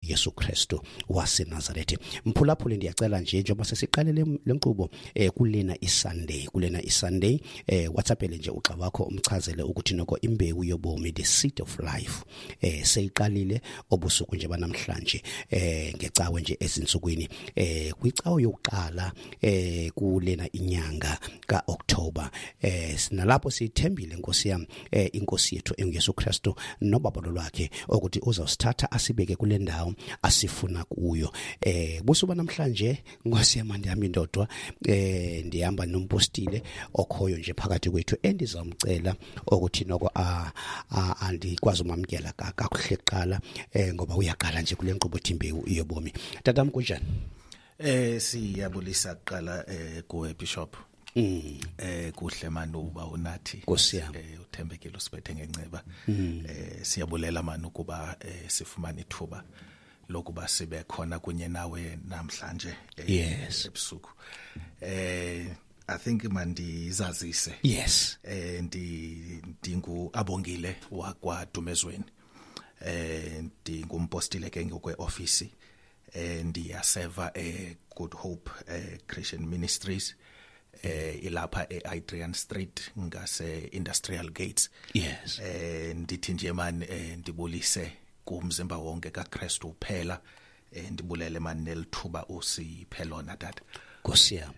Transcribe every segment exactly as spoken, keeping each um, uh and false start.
Yesu Kristu waseNazaretha. Mphulaphuli, ndiyacela nje njengoba sesiqale le nkqubo eh kulena iSunday kulena iSunday eh WhatsAppele nje uxa wakho umchazele ukuthi noko imbewu yobomi, the seed of life, eh seyiqalile obusuku nje banamhlanje eh ngecawe nje ezinsukwini eh kwicawe yokuqala eh kulena inyanga kaOctober. Eh sinalapho sithembile Nkosi yami eh inkosi yethu enguYesu Kristu nobabalo lwakhe ukuthi uzawusithatha asibeke kule ndawo asifuna kuyo. Eh busuku namhlanje Nkosi yami ndihamba indodwa, eh ndihamba nompostile okhoyo nje phakathi kwethu endizamcela ukuthi noko a andikwazi umamkela kakuhle kuqala eh ngoba uyaqala nje kule nkqubo imbewu yobomi. Tatam, kunjani? Eh siyabulisa kuqala eh kuwe Bishop. Mm. Eh kuhle manje uba unathi eh uthembekile usiphethe ngenceba. Eh siyabulela manje ukuba eh sifumane ithuba lokuba sibe khona kunye nawe namhlanje yes ebusuku. Eh I think mandizazise. Yes. Eh ndi ndingu Abongile wakwa Dumezweni. Eh ndingumpostile ke ngokwe office. Eh ndiyaseva e Good Hope eh Christian Ministries eh ilapha eAdrian Street ngase Industrial Gates. Yes. Eh ndithi nje man ndibulise kumzimba wonke kaKristu uphela, eh ndibulele man nelithuba usiphe lona tata. Nkosi yami.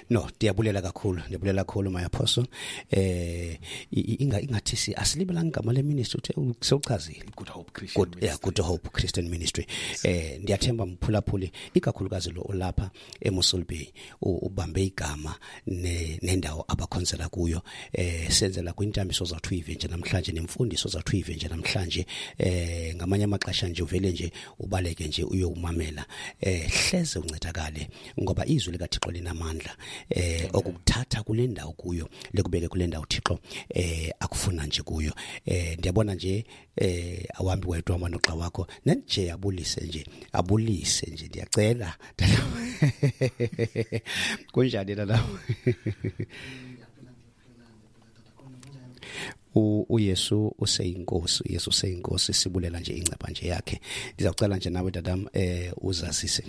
No, ndiyabulela kakhulu, ndiyabulela kakhulu my apostle. Eh inga ingathi si asilibelanga igama le ministry uthe sewuchazile. Good Hope Christian Good, yeah, Good Hope Christian Ministry. Eh ndiyathemba mphulaphuli ikakhulukazi lo olapha eMossel Bay ubambe igama nendawo abakhonzela kuyo. Eh senzela kwintambiso zathu ive nje namhlanje nemfundiso zathu ive nje namhlanje. Eh ngamanye amaxesha nje uvele nje ubaleke nje uyomamela. Eh hleze uncedakale ngoba izwi lika Thixo linamandla eh okukuthatha kule ndawo kuyo lekubeke kule ndawo Thixo eh akufuna nje kuyo. Eh ndiyabona nje eh awambi wedwa amanoxa wakho nje abulise nje abulise nje ndiyacela. Kunjani la? uYesu useyinkosi, uYesu useyinkosi, sibulela nje inceba nje yakhe. Ndizawucela nje nawe dadam eh uzazise.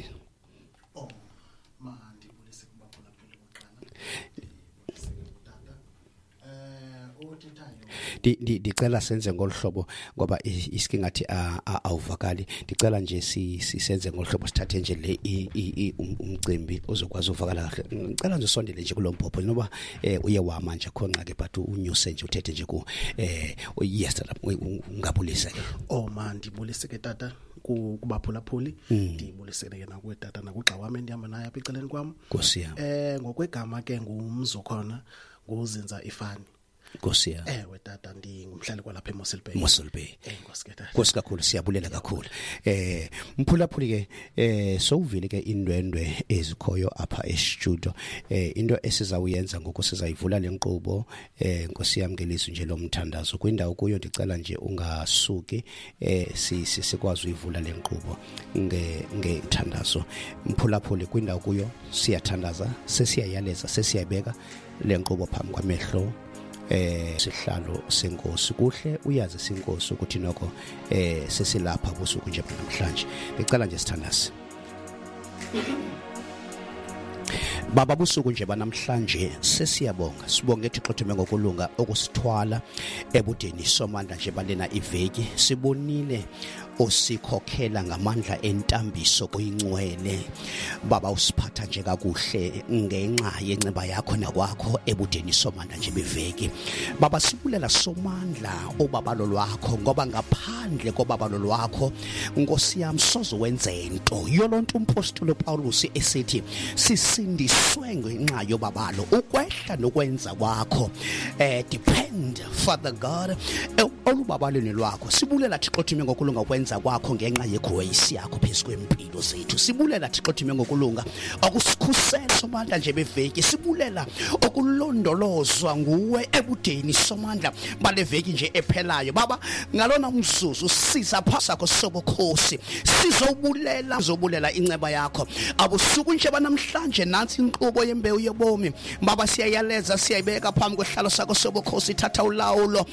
Ndicela senze ngolhlobo ngoba isike ngathi awuvakali. Ndicela nje sisenze ngolhlobo sithathe nje le umcimbi ozokwazi uvakala kahle. Ngicela nje usondele nje kulombhobho noba uye wama nje khona ke but unyuse nje uthethe nje ku eh yes ungabulisa ke. Oh man, ndibulise ke tata kubaphulaphuli, ndibulisele ke nakuwe tata nakugxa wami endihamba naye apha ecaleni kwam. Nkosi yami. Eh ngokwegama ke ngumzokhona nguzinza ifani. Nkosi yami. Ewe tata ndingumhlali kwalapha eMossel Bay. Mossel Bay. Eh Nkosi ke tata. Nkosi kakhulu, siyabulela kakhulu. Eh mphulaphuli ke eh sowuvile ke indwendwe ezikhoyo apha e-studio. Eh into esizawuyenza ngoku sizayivula lenkqubo eh Nkosi yami ngelizwi nje lomthandazo. Kwindawo kuyo ndicela nje ungasuki eh sikwazi uyivula lenkqubo nge ngethandazo. Mphulaphuli kwindawo kuyo siyathandaza, sesiyayaleza, sesiyabeka lenkqubo phambi kwamehlo eh sihlalo senkosi. Kuhle uyazi senkosi ukuthi nokho eh sesilapha busuku nje namhlanje. Ngicela nje sithandaze. Baba busuku nje banamhlanje sesiyabonga, sibonge Thixo thume ngokulunga okusithwala ebudeni somandla nje balena iveki. Sibonile osikhokhela ngamandla entambiso koyincwele. Baba usiphatha nje kakuhle ngenxa yenceba yakho nakwakho ebudeni somandla nje beveki. Baba sibulela somandla obabalo lwakho ngoba ngaphandle kobabalo lwakho Nkosi yami soze wenze into. Yolonto umpostoli Paulus esithi sisindiswe ngenxa yobabalo ukwehla nokwenza kwakho eh depend Father God olubabalweni lwakho. Sibulela Thixo thume ngokulunga kwenza kwakho ngenxa yegrace yakho phezu kwempilo zethu. Sibulela Thixo thume ngokulunga okusikhusela somandla nje beveki. Sibulela okulondolozwa nguwe ebudeni somandla baleveki nje ephelayo. Baba ngalona umzuzu siza phasakho sobukhosi sizobulela sizobulela inceba yakho abusuku nje banamhlanje. Nansi inkqubo yembewu yobomi baba siyayaleza siyayibeka phambi kwehlalo sakho sobukhosi. Thatha ulawulo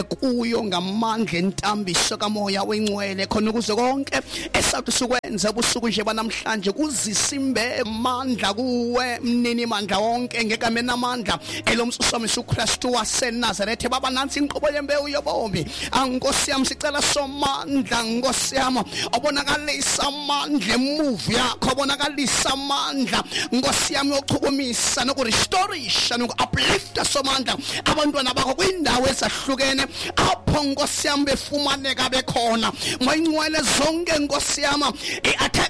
kuyo Thixo ngamandla entambiso kamoya wengcwele, khona ukuze konke esawuthi sikwenze ubusuku nje banamhlanje kuzisa imbe mandla kuwe mnini mandla wonke ngegama namandla elomsusa uKristu waseNazaretha. Baba, nansi inqobo yembewu yobomi. Ankosi yami, sicela somandla, Nkosi yami, obonakalisa amandla emuvi yakho, obonakalisa amandla, Nkosi yami, yokuchukumisa nokurestorisha noku-uplifta somandla abantwana bakho kwindawo ezahlukene apho, Nkosi yami, befumaneka bekhona. Moyingcwele, zonke, Nkosi yami, i-attack